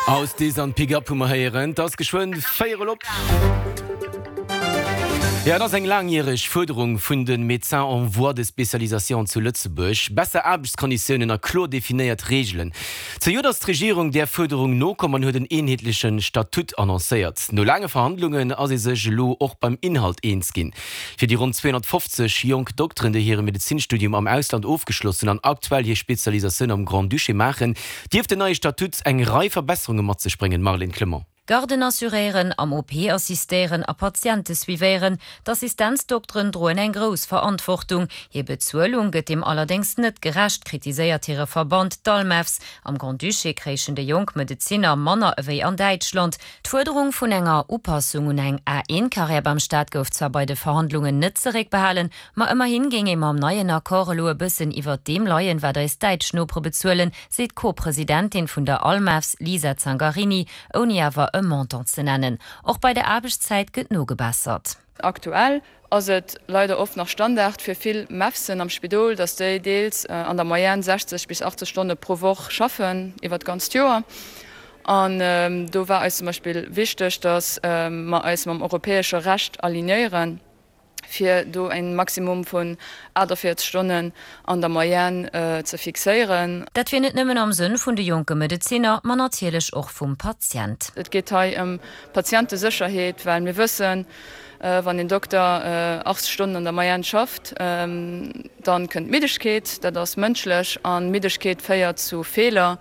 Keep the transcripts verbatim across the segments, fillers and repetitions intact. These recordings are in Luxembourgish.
Aus Dis an Pick Up hu mer héieren. Et ass geschwënn véierel op. Jo, et ass eng laangjäreg Fuerderung vun de Médecins en voie de spécialisation zu Lëtzebuerg, besser Aarbechtskonditiounen a kloer definéiert Reegelen. Zejoert ass d'Regierung där Fuerderung nokomm an huet en eenheetleche Statut annoncéiert. No laange Verhandlungen ass ee sech elo och beim Inhalt eens ginn. Fir déi ronn zweehonnertfofzeg jonk Dokteren, déi hire Medezinstudium am Ausland ofgeschloss hunn an aktuell hir Spezialisatioun am Grand-Duché maachen, dierft den neie Statut eng Rei Verbesserunge mat sech bréngen. Marlène Clement. Garden assuréieren, am O P assistéieren a Patiente suivéieren, d'Assistenzdokteren droen eng grouss Verantwortung. Hir Bezuelung gëtt deem allerdéngs net gerecht, kritiséiert hire Verband, d'Almefs. Am Grand-Duché kréichen déi jonk Medezinner manner ewéi an Däitschland. D'Fuerderung vun enger Upassung un eng A I-Karriär beim Staat gouf zwar bei de Verhandlungen net zeréckbehalen, ma ëmmerhi géing ee mam neien Accord elo e bëssen iwwert deem leien, wat eis däitsch Nopere bezuelen, seet d'Co-Presidentin vun der Almefs, Lisa Zangarini, ouni awer e Montant ze nennen. Och bei der Aarbechtszäit gëtt nogebessert. Aktuell ass et leider oft nach Standard fir vill Mefsen am Spidol, dass déi deels an der Moyenne sechzeg bis achtzeg Stonne pro Woch schaffen iwwer d'ganzt Joer. An do war eis zum Beispill wichteg, dass mer eis mam europäesche Recht alignéieren, fir do e Maximum vun achtundvierzeg Stonnen an der Moyenne ze fixéieren. Dat wier net nëmmen am Sënn vun de jonke Medezinner, ma natierlech och vum Patient. Et geet hei ëm d'Patientesécherheet, well mir wëssen, wann een Dokter achtzeg Stonnen an der Moyenne schafft, da kënnt Middegkeet, dat ass mënschlech, a Middegkeet féiert zu Feeler.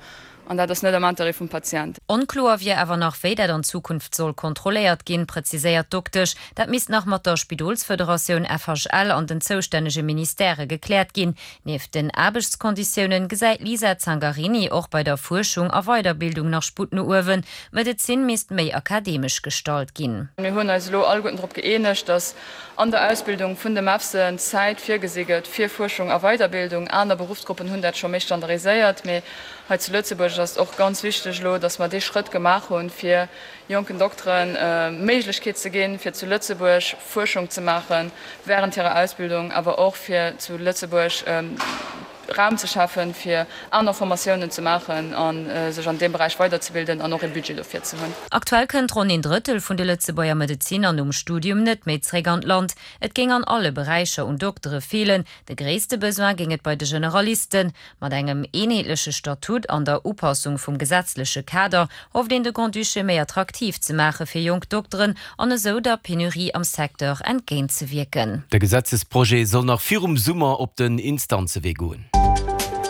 An dat ass net am Interêt vum Patient. Onkloer wier awer nach, wéi dat an Zukunft soll kontrolléiert ginn, präziséiert d'Doktesch. Dat misst nach mat der Spidolsfederatioun F H L an den zoustännege Ministèrë gekläert ginn. Nieft den Aarbechtskonditiounen gesäit d'Lisa Zangarini och bei der Fuerschung a Weiderbildung nach Sputt no uewen. D'Medezin misst méi akademesch gestalt ginn. Mir hunn eis elo alleguerten drop gëeenegt, dass an der Ausbildung vun de Mefsen Zäit virgesi gëtt fir Fuerschung a Weiderbildung. Aner Beruffsgruppen hunn dat scho méi standardiséiert, mee hei zu Lëtzebuerg ass et och ganz wichteg elo, dass mer dee Schrëtt gemaach hunn, fir jonken Dokteren d'Méiglechkeet ze ginn, fir zu Lëtzebuerg Fuerschung ze maache während hirer Ausbildung, awer och fir zu Lëtzebuerg Raum ze schafen, fir aner Formatiounen ze maachen a sech an deem Beräich weiderzebilden an och ee Budget dofir ze hunn. Aktuell kënnt ronn een Drëttel vun de Lëtzebuerger Medezinner nom Studium net méi zréck an d'Land. Et géing an alle Beräicher un Doktere feelen. De gréisste Besoin géing et bei de Generalisten. Mat engem eenheetleche Statut an der Upassung vum gesetzleche Kader hofft een de Grand-Duché méi attraktiv ze maache fir jonk Dokteren an esou der Penurie am Secteur entgéintzewierken. De Gesetzesprojet soll nach virum Summer op den Instanzewee goen.